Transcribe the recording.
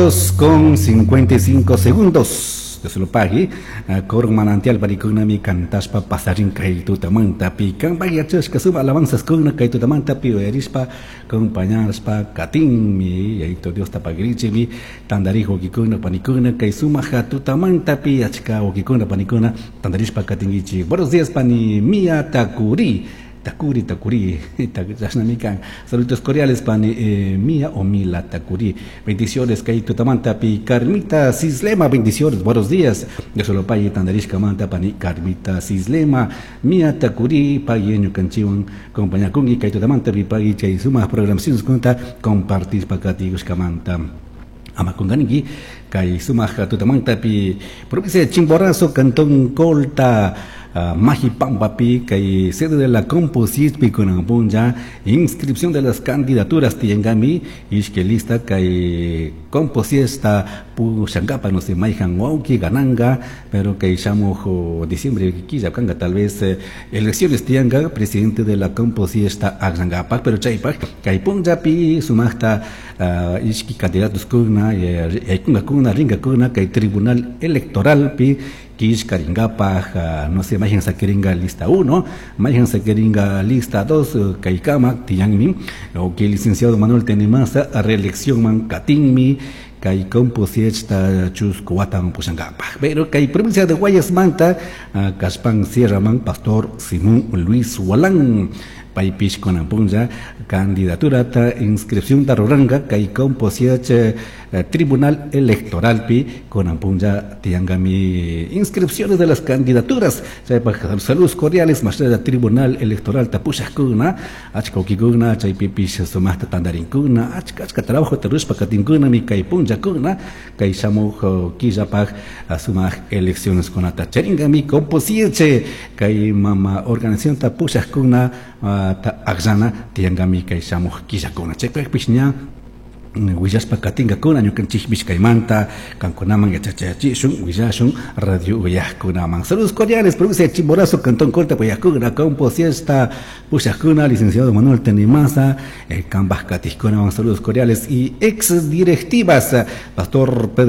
Con 55 segundos. Dios lo pague. Coro Manantial panikunami cantashpa pasarin kay tutamantapi. Kanpak yachashka suma alabanzas kuna kay tutamantapi uyarishpa acompañashpa katinmi. Yayito Diosta pagrichimi. Tandari wawkikuna panikuna kay sumaja tutamantapi achka wawkikuna panikuna tandarishpa katinkichik. Buenos días, pani Mia Takuri. Takuri, Takuri, chashnami kan. Saludos cordiales, pani Mia o Mila Takuri. Bendiciones, kay tutamantapi Carmita Cislema, bendiciones, buenos días. Dios lo pague, tandarishka manta, pani Carmita Cislema, Mia Takuri, pague ñukanchiwan compañakunki, kay tutamantapi pague chay sumaj programaciones kunta compartir pakatigushkamanta. Ama kunganiki, kay sumaj tutamantapi provincia de Chimborazo, Cantón Colta, Majipampapi, kay sede de la Compositpi kunan punlla, inscripción de las candidaturas tiyangami, ishke lista kay Composiesta pushankapa, no sé, maijan wauki, gananga, pero kay shamuj diciembre killa kanga, tal vez elecciones tiyanga, presidente de la Composiesta aglangapa, pero chaypak, kay punllapi sumajta, ishki candidatos kuna, yaykuna kuna, ringa kuna, kay tribunal electoral pi, kishkaringapaj, no sé, mayan saqueringa lista 1, mayan saqueringa lista 2, kaikama, tiyanmi, o que el licenciado Manuel Tenemaza, reelección man katinmi, kay composiesta chusco watan pushangapaj. Pero kay provincia de Guayas manta, Caspán Sierra man, pastor Simón Luis Walán, paypish kunan punlla, candidatura ta inscripción ta ruranga, kay composiech Tribunal Electoral pi kunan punlla tiangami inscripciones de las candidaturas. Chaypaj saludos cordiales, más allá Tribunal Electoral tapushajkuna, achka ukikuna, chaypipish sumajta tandarinkuna, achka achka trabajo tarushpa katinkuna, mi kay punllakuna, kay shamuj killapaj sumaj elecciones kunata charingami composieche, kay mama organización tapushajkuna, ta akllana tiangami kay shamuj killakuna. Chaypajpish ña willashpa katingakuna ñukanchikpish kaymanta kankunaman yachachachishun willashun radio uyajkunaman. Saludos cordiales, provincia de Chimborazo, Cantón Colta, Puyajkuna, Campo Siesta, Pushajkuna, licenciado Manuel Tenemaza, el Cambaj Katijkunaman, saludos cordiales y ex directivas, Pastor Pedro